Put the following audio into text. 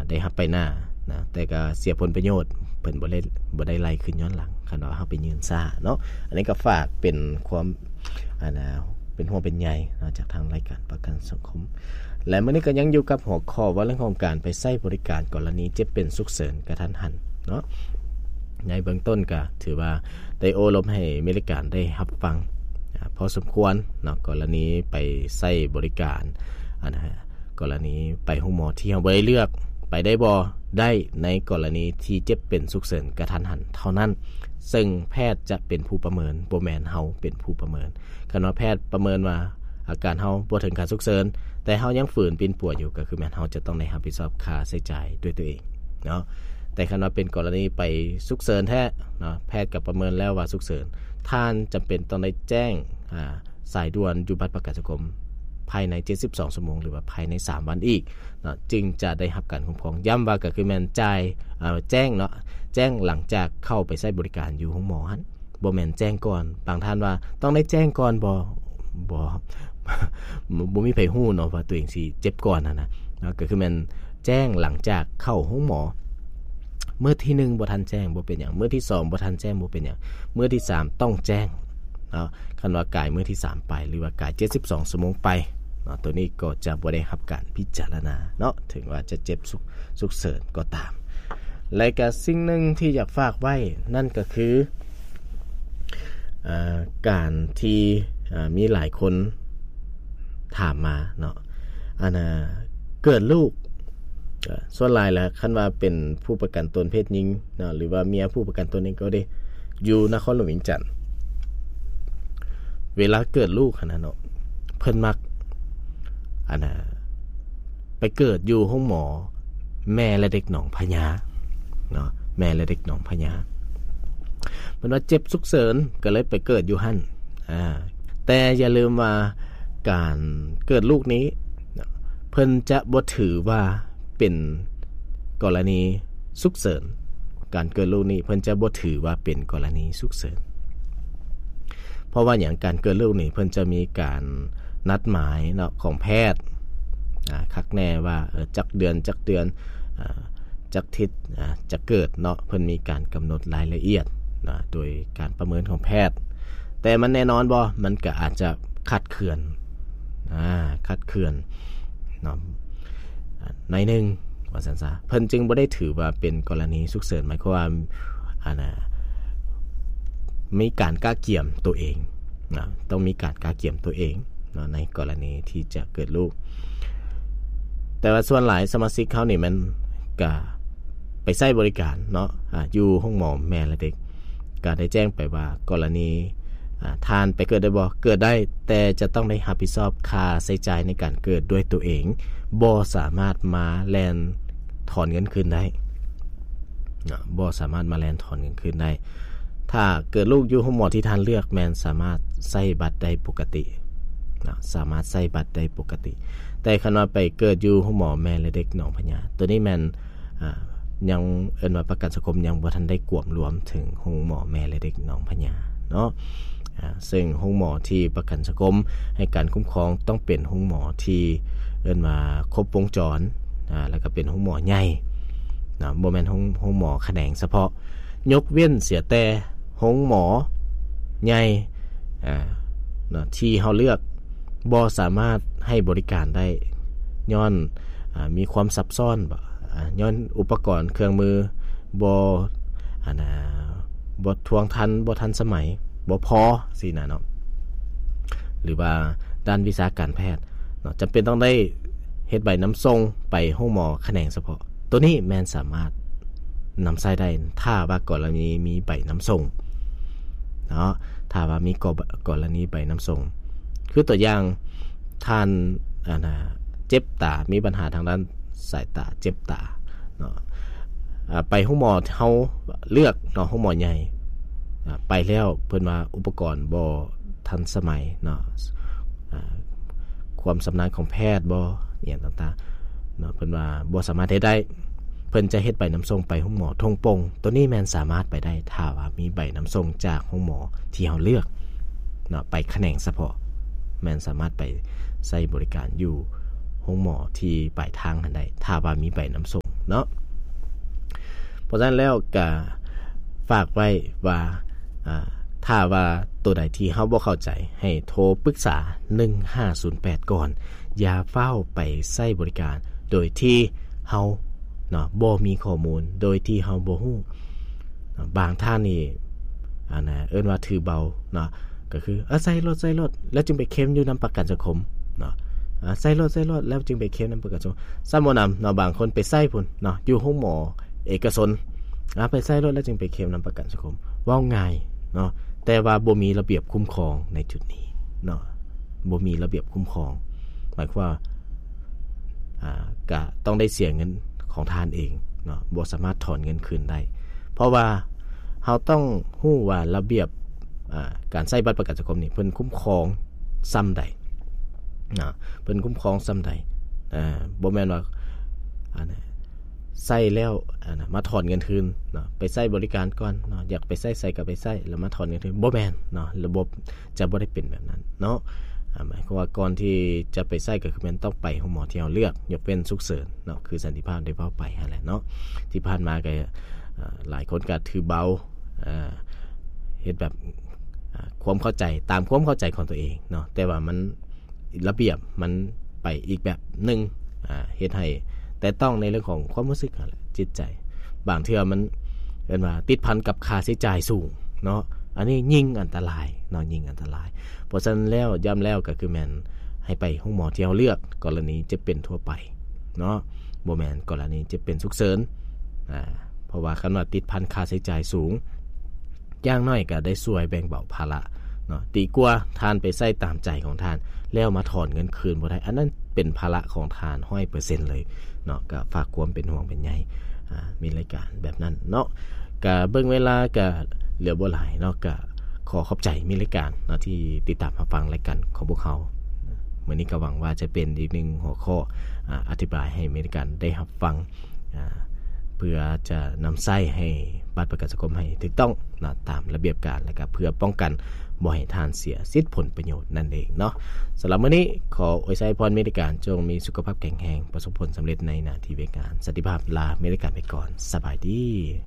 ໄດ້ຮັບໄປໜ້ານະ ແຕ່ກໍເສຍຜົນປະໂຫຍດ ເພິ່ນບໍ່ໄດ້ ບໍ່ໄດ້ໄລ່ຄືນຍ້ອນຫຼັງ ຄັນວ່າເຮົາໄປຍື່ນຊ້າເນາະ. ອັນນີ້ກໍຝາກເປັນຄວາມ ອັນນ່າ ເປັນຫ່ວງເປັນໃຍເນາະ ຈາກທາງລາຍການປະກັນສັງຄົມ. ແລະ ມື້ນີ້ກໍຍັງຢູ່ກັບຫົວຂໍ້ວ່າເລື່ອງຂອງການໄປໃຊ້ບໍລິການກໍລະນີເຈັບເປັນສຸກເສີນກະທັນຫັນເນາະ. ໃນເບື້ອງຕົ້ນກໍຖືວ່າໄດ້ໂອ້ລົມໃຫ້ເມລິກາໄດ້ຮັບຟັງ ອາ ພໍສົມຄວນເນາະ ກໍລະນີໄປໃຊ້ບໍລິການ ອັນນ່າ ກໍລະນີໄປໂຮງໝໍທີ່ເຮົາບໍ່ໄດ້ເລືອກ ໄປໄດ້ບໍ່? ໄດ້ ໃນກໍລະນີທີ່ເຈັບເປັນສຸກເສີນກະທັນຫັນເທົ່ານັ້ນ ເຊິ່ງແພດຈະເປັນຜູ້ປະເມີນ ບໍ່ແມ່ນເຮົາເປັນຜູ້ປະເມີນ. ຄັນວ່າແພດປະເມີນວ່າອາການເຮົາບໍ່ເຖິງຂັ້ນສຸກເສີນ ແຕ່ເຮົາຍັງຝືນປິ່ນປົວຢູ່ ກໍຄືແມ່ນເຮົາຈະຕ້ອງໄດ້ຮັບຜິດຊອບຄ່າໃຊ້ຈ່າຍດ້ວຍຕົວເອງເນາະ. ແຕ່ຄັນວ່າເປັນກໍລະນີໄປສຸກເສີນແທ້ເນາະ ແພດກໍປະເມີນແລ້ວວ່າສຸກເສີນ ທ່ານຈຳເປັນຕ້ອງໄດ້ແຈ້ງ ອາ ສາຍດ່ວນຢູ່ບັດປະກັນສັງຄົມພາຍໃນເຈັດສິບສອງຊົ່ວໂມງ ຫຼືວ່າພາຍໃນສາມວັນອີກເນາະ ຈຶ່ງຈະໄດ້ຮັບການຄຸ້ມຄອງ. ຢ້ຳວ່າກໍຄືແມ່ນຈ່າຍ ເອີ ແຈ້ງເນາະ ແຈ້ງຫຼັງຈາກເຂົ້າໄປໃຊ້ບໍລິການຢູ່ໂຮງໝໍຫັ້ນ ບໍ່ແມ່ນແຈ້ງກ່ອນ. ບາງທ່ານວ່າຕ້ອງໄດ້ແຈ້ງກ່ອນບໍ່? ບໍ່ ບໍ່ມີໃຜຮູ້ເນາະວ່າຕົວເອງຊິເຈັບກ່ອນຫັ້ນນະເນາະ. ກໍຄືແມ່ນແຈ້ງຫຼັງຈາກເຂົ້າໂຮງໝໍ ມື້ທີໜຶ່ງບໍ່ທັນແຈ້ງບໍ່ເປັນຫຍັງ ມື້ທີສອງບໍ່ທັນແຈ້ງບໍ່ເປັນຫຍັງ ມື້ທີສາມຕ້ອງແຈ້ງເນາະ. ຄັນວ່າກາຍມື້ທີສາມໄປ ຫຼືວ່າກາຍເຈັດສິບສອງຊົ່ວໂມງໄປເນາະ ໂຕນີ້ກໍຈະບໍ່ໄດ້ຮັບການພິຈາລະນາເນາະ ເຖິງວ່າຈະເຈັບສຸກ ສຸກເສີນກໍຕາມ. ແລະກະສິ່ງໜຶ່ງທີ່ຢາກຝາກໄວ້ນັ້ນກໍຄື ເອີ ການທີ່ ເອີ ມີຫຼາຍຄົນຖາມມາເນາະ ອັນນ່າ ເກີດລູກ ເອີ ສ່ວນຫຼາຍແລ້ວ ຄັນວ່າເປັນຜູ້ປະກັນຕົນເພດຍິງເນາະ ຫຼືວ່າເມຍຜູ້ປະກັນຕົນເອງກໍດີ ຢູ່ນະຄອນຫຼວງວຽງຈັນ ເວລາເກີດລູກຫັ້ນນະເນາະ ເພິ່ນມັກ ອັນນ່າ ໄປເກີດຢູ່ໂຮງໝໍແມ່ແລະເດັກໜອງພະຍາເນາະ ແມ່ແລະເດັກໜອງພະຍາ. ເພິ່ນວ່າເຈັບສຸກເສີນ ກໍເລີຍໄປເກີດຢູ່ຫັ້ນ. ອາ ແຕ່ຢ່າລືມວ່າການເກີດລູກນີ້ ເພິ່ນຈະບໍ່ຖືວ່າເປັນກໍລະນີສຸກເສີນ. ການເກີດລູກນີ້ເພິ່ນຈະບໍ່ຖືວ່າເປັນກໍລະນີສຸກເສີນ. ເພາະວ່າຫຍັງ? ການເກີດລູກນີ້ເພິ່ນຈະມີການນັດໝາຍເນາະ ຂອງແພດ ອາ ຄັກແນ່ວ່າ ເອີ ຈັກເດືອນ ຈັກເດືອນ ອາ ຈັກທິດ ອາ ຈະເກີດເນາະ ເພິ່ນມີການກຳນົດລາຍລະອຽດນະ ໂດຍການປະເມີນຂອງແພດ. ແຕ່ມັນແນ່ນອນບໍ່? ມັນກໍອາດຈະຄາດເຄື່ອນ ອາ ຄາດເຄື່ອນເນາະ ອາ ໜ້ອຍໜຶ່ງວ່າຊັ້ນຊະ. ເພິ່ນຈຶ່ງບໍ່ໄດ້ຖືວ່າເປັນກໍລະນີສຸກເສີນ ໝາຍຄວາມວ່າ ອັນນ່າ ມີການກະກຽມຕົວເອງນະ ຕ້ອງມີການກະກຽມຕົວເອງເນາະ ໃນກໍລະນີທີ່ຈະເກີດລູກ. ແຕ່ວ່າສ່ວນຫຼາຍສະມາຊິກເຮົານີ້ແມ່ນກະໄປໃຊ້ບໍລິການເນາະ ອາ ຢູ່ໂຮງໝໍແມ່ແລະເດັກ ກະໄດ້ແຈ້ງໄປວ່າ ກໍລະນີ ອາ ທ່ານໄປເກີດໄດ້ບໍ່? ເກີດໄດ້ ແຕ່ຈະຕ້ອງໄດ້ຮັບຜິດຊອບຄ່າໃຊ້ຈ່າຍໃນການເກີດດ້ວຍຕົວເອງ ບໍ່ສາມາດມາແລ່ນຖອນເງິນຄືນໄດ້ເນາະ ບໍ່ສາມາດມາແລ່ນຖອນເງິນຄືນໄດ້. ຖ້າເກີດລູກຢູ່ໂຮງໝໍທີ່ທ່ານເລືອກ ແມ່ນສາມາດໃຊ້ບັດໄດ້ປົກກະຕິເນາະ ສາມາດໃຊ້ບັດໄດ້ປົກກະຕິ. ແຕ່ຄັນວ່າໄປເກີດຢູ່ໂຮງໝໍແມ່ແລະເດັກໜອງພະຍາ ໂຕນີ້ແມ່ນ ອາ ຍັງເອີ້ນວ່າປະກັນສັງຄົມຍັງບໍ່ທັນໄດ້ກວມລວມເຖິງໂຮງໝໍແມ່ແລະເດັກໜອງພະຍາເນາະ. ອາ ເຊິ່ງໂຮງໝໍທີ່ປະກັນສັງຄົມໃຫ້ການຄຸ້ມຄອງຕ້ອງເປັນໂຮງໝໍທີ່ເອີ້ນວ່າຄົບວົງຈອນ ອາ ແລ້ວກໍເປັນໂຮງໝໍໃຫຍ່ເນາະ ບໍ່ແມ່ນໂຮງ ໂຮງໝໍຂະແໜງສະເພາະ. ຍົກເວັ້ນເສຍແຕ່ໂຮງໝໍໃຫຍ່ ອາ ເນາະ ທີ່ເຮົາເລືອກບໍ່ສາມາດໃຫ້ບໍລິການໄດ້ ຍ້ອນ ອາ ມີຄວາມຊັບຊ້ອນ ອາ ຍ້ອນອຸປະກອນເຄື່ອງມືບໍ່ ອັນນ່າ ບໍ່ທວງທັນ ບໍ່ທັນສະໄໝ ບໍ່ພໍຊີ້ນະເນາະ ຫຼືວ່າດ້ານວິຊາການແພດເນາະ ຈຳເປັນຕ້ອງໄດ້ເຮັດໃບນຳສົ່ງໄປໂຮງໝໍຂະແໜງສະເພາະ. ໂຕນີ້ແມ່ນສາມາດນຳໃຊ້ໄດ້ ຖ້າວ່າກໍລະນີມີໃບນຳສົ່ງເນາະ ຖ້າວ່າມີກໍ ກໍລະນີໃບນຳສົ່ງ ຄືຕົວຢ່າງ ທ່ານ ອັນນ່າ ເຈັບຕາ ມີບັນຫາທາງດ້ານສາຍຕາ ເຈັບຕາເນາະ ອາ ໄປໂຮງໝໍເຮົາເລືອກເນາະ ໂຮງໝໍໃຫຍ່ ອາ ໄປແລ້ວເພິ່ນວ່າອຸປະກອນບໍ່ທັນສະໄໝເນາະ ອາ ຄວາມຊຳນານຂອງແພດບໍ່ ອີ່ຫຍັງຕ່າງໆເນາະ ເພິ່ນວ່າບໍ່ສາມາດເຮັດໄດ້ ເພິ່ນຈະເຮັດໃບນຳສົ່ງໄປໂຮງໝໍທົ່ງໂປ່ງ. ໂຕນີ້ແມ່ນສາມາດໄປໄດ້ ຖ້າວ່າມີໃບນຳສົ່ງຈາກໂຮງໝໍທີ່ເຮົາເລືອກເນາະ ໄປຂະແໜງສະເພາະ ແມ່ນສາມາດໄປໃຊ້ບໍລິການຢູ່ໂຮງໝໍທີ່ປາຍທາງຫັ້ນໄດ້ ຖ້າວ່າມີໃບນຳສົ່ງ ເນາະ. ເພາະສະນັ້ນແລ້ວກະຝາກໄວ້ວ່າ ອາ ຖ້າວ່າໂຕໃດທີ່ເຮົາບໍ່ເຂົ້າໃຈ ໃຫ້ໂທປຶກສາໜຶ່ງຫ້າສູນແປດກ່ອນ. ຢ່າຟ້າວໄປໃຊ້ບໍລິການໂດຍທີ່ເຮົາເນາະ ບໍ່ມີຂໍ້ມູນ ໂດຍທີ່ເຮົາບໍ່ຮູ້. ບາງທ່ານນີ້ ອັນນະ ເອີ້ນວ່າຖືເບົາເນາະ ກໍຄື ເອີ ໃຊ້ໂລດ ໃຊ້ໂລດ ແລ້ວຈຶ່ງໄປເຄມຢູ່ນຳປະກັນສັງຄົມເນາະ. ອາ ໃຊ້ໂລດ ໃຊ້ໂລດ ແລ້ວຈຶ່ງໄປເຄມນຳປະກັນສັງຄົມ ຊ້ຳບໍ່ນຳເນາະ. ບາງຄົນໄປໃຊ້ພຸ້ນເນາະ ຢູ່ໂຮງໝໍເອກະຊົນ ອາ ໄປໃຊ້ໂລດ ແລ້ວຈຶ່ງໄປເຄມນຳປະກັນສັງຄົມ. ເວົ້າງ່າຍເນາະ ແຕ່ວ່າບໍ່ມີລະບຽບຄຸ້ມຄອງໃນຈຸດນີ້ເນາະ ບໍ່ມີລະບຽບຄຸ້ມຄອງ. ໝາຍຄວາມວ່າ ອາ ກະຕ້ອງໄດ້ເສຍເງິນຂອງທ່ານເອງເນາະ ບໍ່ສາມາດຖອນເງິນຄືນໄດ້ ເພາະວ່າເຮົາຕ້ອງຮູ້ວ່າລະບຽບ ອາ ການໃຊ້ບັດປະກັນສັງຄົມນີ້ ເພິ່ນຄຸ້ມຄອງຊ່ຳໃດເນາະ ເພິ່ນຄຸ້ມຄອງຊ່ຳໃດ. ອາ ບໍ່ແມ່ນວ່າ ອັນ ໃຊ້ແລ້ວ ອັນ ມາຖອນເງິນຄືນເນາະ ໄປໃຊ້ບໍລິການກ່ອນເນາະ ຢາກໄປໃຊ້ໃສກໍໄປໃຊ້ ແລ້ວມາຖອນເງິນຄືນ ບໍ່ແມ່ນເນາະ. ລະບົບຈະບໍ່ໄດ້ເປັນແບບນັ້ນເນາະ. ອາ ໝາຍຄວາມວ່າກ່ອນທີ່ຈະໄປໃຊ້ ກໍຄືແມ່ນຕ້ອງໄປໂຮງໝໍທີ່ເຮົາເລືອກ ຍົກເວັ້ນສຸກເສີນເນາະ ຄືສັນຕິພາບໄດ້ເວົ້າໄປຫັ້ນແຫຼະເນາະ. ທີ່ຜ່ານມາກໍ ອາ ຫຼາຍຄົນກໍຖືເບົາ ອາ ເຮັດແບບ ອາ ຄວາມເຂົ້າໃຈ ຕາມຄວາມເຂົ້າໃຈຂອງຕົວເອງເນາະ ແຕ່ວ່າມັນ ລະບຽບມັນໄປອີກແບບໜຶ່ງ ອາ ເຮັດໃຫ້ແຕະຕ້ອງໃນເລື່ອງຂອງຄວາມຮູ້ສຶກຫັ້ນແຫຼະ ຈິດໃຈ. ບາງເທື່ອມັນ ເອີ້ນວ່າຕິດພັນກັບຄ່າໃຊ້ຈ່າຍສູງເນາະ ອັນນີ້ຍິ່ງອັນຕະລາຍເນາະ ຍິ່ງອັນຕະລາຍ. ເພາະສະນັ້ນແລ້ວ ຢ້ຳແລ້ວກໍຄືແມ່ນໃຫ້ໄປໂຮງໝໍທີ່ເຮົາເລືອກ ກໍລະນີເຈັບເປັນທົ່ວໄປເນາະ ບໍ່ແມ່ນກໍລະນີເຈັບເປັນສຸກເສີນ. ອາ ເພາະວ່າຄັນວ່າຕິດພັນຄ່າໃຊ້ຈ່າຍສູງ ຢ່າງໜ້ອຍກໍໄດ້ຊ່ວຍແບ່ງເບົາພາລະເນາະ ດີກວ່າທ່ານໄປໃຊ້ຕາມໃຈຂອງທ່ານ ແລ້ວມາຖອນເງິນຄືນບໍ່ໄດ້ ອັນນັ້ນເປັນພາລະຂອງທ່ານຮ້ອຍເປີເຊັນເລີຍເນາະ. ກໍຝາກຄວາມເປັນຫ່ວງເປັນໃຍ ອາ ມີລາຍການແບບນັ້ນເນາະ. ກໍເບິ່ງເວລາກໍເຫຼືອບໍ່ຫຼາຍເນາະ ກໍຂໍຂອບໃຈມີລາຍການເນາະ ທີ່ຕິດຕາມຮັບຟັງລາຍການຂອງພວກເຮົາ. ມື້ນີ້ກໍຫວັງວ່າຈະເປັນອີກໜຶ່ງຫົວຂໍ້ ອາ ອະທິບາຍໃຫ້ມີລາຍການໄດ້ຮັບຟັງ ອາ ເພື່ອຈະນຳໃຊ້ໃຫ້ບັດປະກັນສັງຄົມໃຫ້ຖືກຕ້ອງເນາະ ຕາມລະບຽບການ ແລະກະເພື່ອປ້ອງກັນບໍ່ໃຫ້ທ່ານເສຍສິດຜົນປະໂຫຍດນັ້ນເອງເນາະ. ສຳລັບມື້ນີ້ ຂໍອວຍໄຊພອນມີລາຍການ ຈົ່ງມີສຸຂະພາບແຂງແຮງ ປະສົບຜົນສຳເລັດໃນໜ້າທີ່ວຽກງານ. ສັນຕິພາບລາມີລາຍການໄປກ່ອນ. ສະບາຍດີ.